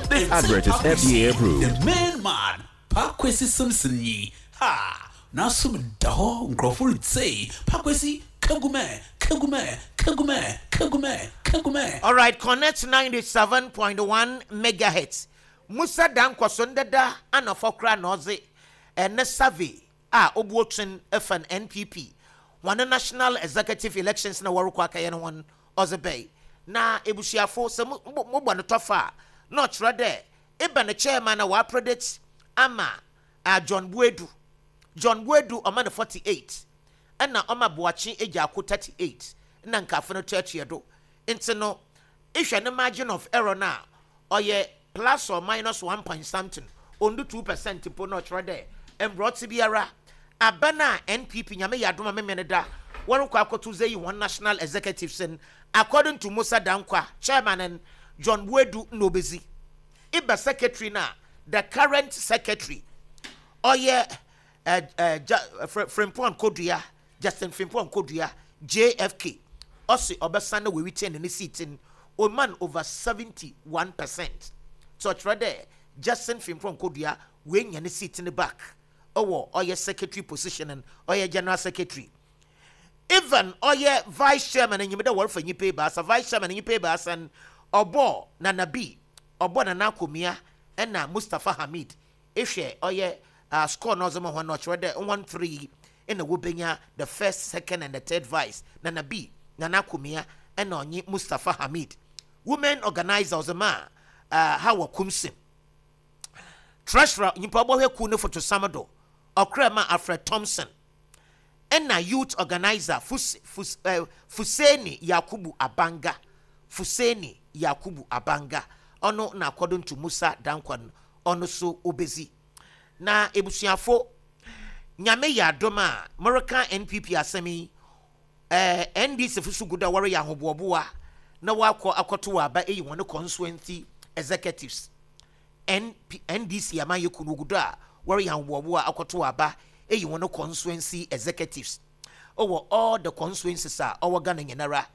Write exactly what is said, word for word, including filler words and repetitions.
This advert is F D A approved. The main man, Paa Kwesi Simpson yi ha n'asom da hɔ, nkurɔfo retsei Paa Kwesi kagume kagume kagume kagume kagume. All right, Connect ninety-seven point one megahertz. Musa Dankwa so ndeda anafɔ kora na ɔdze ɛne survey a obuotwen ɛfa N P P wɔn national executive elections na wɔrekɔ akɛyɛ no wɔn ɔdze bɛyi na ebusuafo sɛ mo mobɔ no tɔfa a, na ɔkyerɛ dɛ eba ne chairman a wɔapredict ama uh, John Boadu. John Boadu ɔma no forty-eight, ɛna ɔma Boakye Agyarko thirty-eight, ɛna nkafo no toatoa do. Nti no ehwɛ ne margin of error no a, ɔyɛ plus or minus one point something, ondu two percent mpo. Na ɔkyerɛ dɛ mbrɔte biara aba no a N P P, Nyame yɛ adom a, memene da wɔrekɔ akɔto sɛ yi wɔn national executives no, according to Musa Dankwa, chairman no John Boadu na obezi. Iba secretary no a, the current secretary ɔyɛ ɛ ɛ ja Frimpong Kodua, Justin Frimpong Kodua, J F K, ɔsi ɔbɛsan na wɔretain ne seat no, ɔman over seventy one percent. So ɔkyerɛ dɛ Justin Frimpong Kodua wɔanya ne seat no back, ɔwɔ ɔyɛ secretary position no, ɔyɛ general secretary. Even ɔyɛ vice chairman, enyim dɛ wɔrefa nyimpa ebaasa vice chairman, nyimpa ebaasa no, ɔbɔ Nana B, ɔbɔ Nana Akomia ɛna Mustapha Hamid. Ehwɛ ɔyɛ uh, score na ɔdze ma hɔn no, ɔkyerɛ dɛ one three ɛna wɔbɛnya the first, second and the third vice: Nana B, Nana Akomia ɛna ɔnye Mustapha Hamid. Women organizer ɔdze ma uh, Hawa Koomson. Treasurer, nyimpa ɔbɔhwɛ kuw ne fotosam do, ɔkra ma Alfred Thompson. Ɛna youth organizer Fus, Fus, uh, Fuseni Yakubu Abanga. Fuseni Yakubu Abanga ɔno na according to Musa Dankwa no, ɔno so obezi. Na ebusuafo, Nyame yɛ adom a, moreka N P P asɛm yi, ɛɛ N D C fo so gu da wɔreyɛ ahoboɔboa na wakɔ akɔto wɔ aba eyi wɔn constituency executives. N P, N D C amayɛ kunu gu do a wɔreyɛ ahoboɔboa akɔto wɔ aba eyi wɔn constituency executives ɔwɔ all the constituencies a ɔwɔ Ghana nyinara.